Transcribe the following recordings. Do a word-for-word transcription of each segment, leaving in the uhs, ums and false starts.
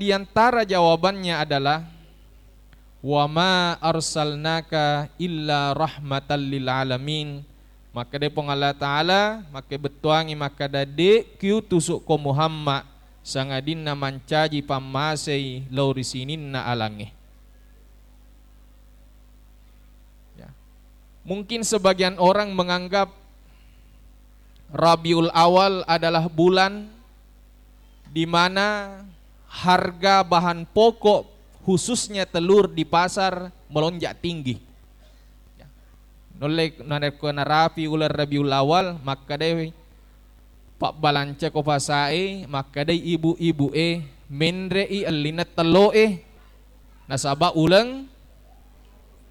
di antara jawabannya adalah, "Wa ma arsalnaka illa rahmatan lil alamin." Makkedai Puang Allah Ta'ala, makkebettuangi makkeda, "De' kiutusukko Muhammad sangadinna mancaji pammasei lao ri sininna alangnge." Ya. Mungkin sebagian orang menganggap Rabiul Awal adalah bulan di mana harga bahan pokok, khususnya telur di pasar, melonjak tinggi. Ya. Nulle narekko narapi uleng Rabiul Awal, makkedai pabbalancako pasae, makkedai ibu-ibu'e, menre'i ellinna tello'e, nasaba uleng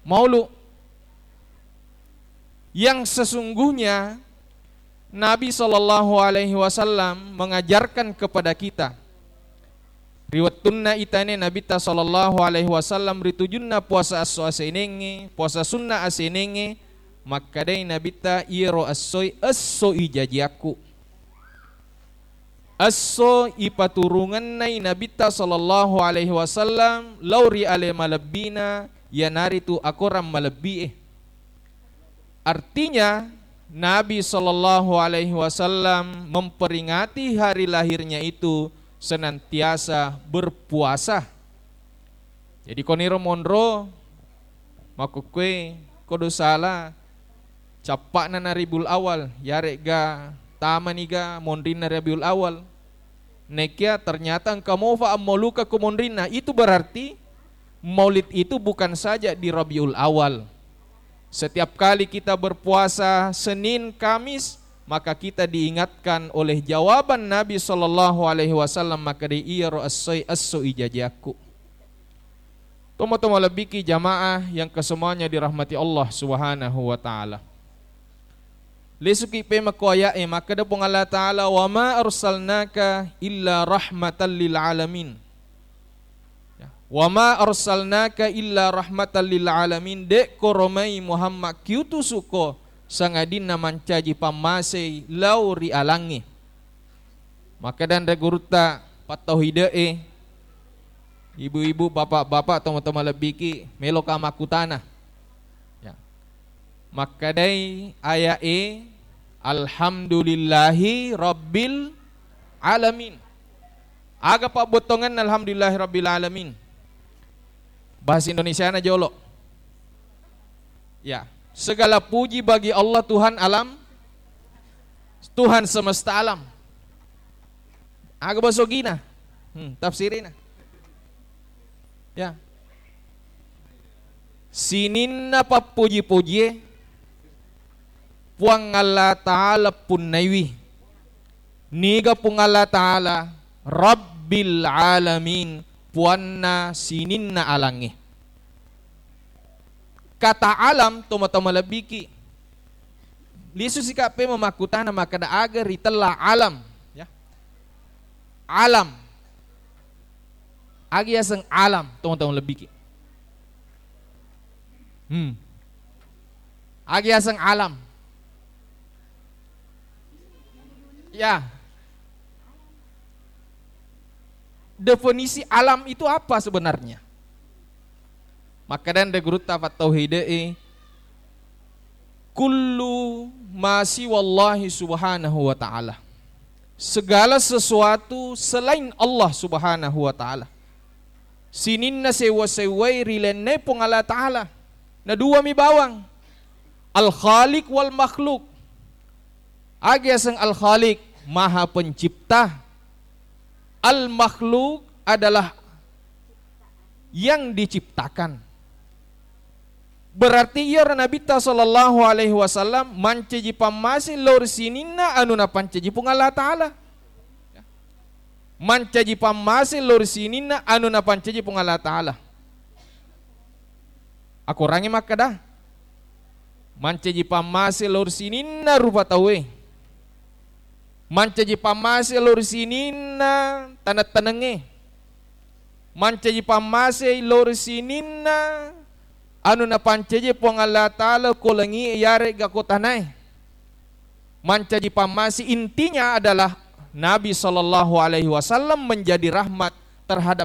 maulu. Yang sesungguhnya Nabi sallallahu alaihi wasallam mengajarkan kepada kita, ri wettunna itane Nabitta sallallahu alaihi wasallam ri tujunna puasa esso asenengnge, puasa sunna asenengnge, makkedai Nabitta, "Iyaro essoi, esso ijajiakku." Esso ipaturungennai Nabitta sallallahu alaihi wasallam lao ri ale malebbina, iyanaritu akorang malebbi'e. Artinya, Nabi sallallahu alaihi wasallam memperingati hari lahirnya itu senantiasa berpuasa. Jadi, koniro monro, makkukkue kodo sala cappa'na na Rabiul Awal, yare'ga tamaniga monrinna Rabiul Awal. Nekia ternyata engka mofa ammauluka ko monrinna, itu berarti Maulid itu bukan saja di Rabiul Awal. Setiap kali kita berpuasa Senin, Kamis, maka kita diingatkan oleh jawaban Nabi sallallahu alaihi wasallam, makkeda, "Iyaro essoi esso ijajiakku." Tomo-tomo lebbiki jamaah yang kesemuanya dirahmati Allah Subhanahu wa Ta'ala. Lesuki pe makko aya'e, makkeda Puang Allah Ta'ala, "Wa ma arsalnaka illa rahmatan lil alamin." Ya. "Wa ma arsalnaka illa rahmatan lil alamin." De'ko romai Muhammad kiutusuko sangadinna mancaji pammasei lao ri alangnge. Makkeda anre gurutta pattauhide'e, ibu-ibu, bapak-bapak, tomo-tomo lebbiki, meloka makkutana. Ya. Makkedai aya'e, "Alhamdulillahi rabbil alamin." Aga pabbottongenna alhamdulillahi rabbil alamin? Bahasa Indonesiana jolo. Ya, segala puji bagi Allah, Tuhan alam, Tuhan semesta alam. Aga bahasa Ogina? Hmm, tafsirina. Ya. Sininna pappuji-pujie Puang Allah Ta'ala punnaiwi. Niga Puang Allah Ta'ala? Rabbil alamin, puanna sininna alangnge. Kata alam, tomo-tomo lebbiki. Lisu sika pe memakkutana makkeda aga ritella alam, ya. Alam. Aga yaseng alam, tomo-tomo lebbiki. Hmm. Aga yaseng alam. Ya. Definisi alam itu apa sebenarnya? Makkeda anre gurutta fattauhide'e, "Kullu ma siwallahi subhanahu wa ta'ala." Segala sesuatu selain Allah Subhanahu wa Ta'ala. Sininna sewwa-sewwai rilennai Puang Allah Ta'ala. Na duami bawang. Al-Khaliq wal Makhluk. Aga yaseng Al-Khaliq? Maha Pencipta. Al-Makhluk adalah yang diciptakan. Berarti iyaro Nabitta sallallahu alaihi wasallam mancaji pammase lao ri sininna anu napancaji Puang Allah Ta'ala. Mancaji pammase lao ri sininna anu napancaji Puang Allah Ta'ala. Akorangngi makkeda, mancaji pammase lao ri sininna rupa tauwe. Mancaji pammase lao ri sininna taneng-tanengnge. Mancaji pammase lao ri sininna anu napancaji Puang Allah Ta'ala ko langi'e yare'ga ko tanae. Mancaji pammase, intinya adalah Nabi sallallahu alaihi wasallam menjadi rahmat terhadap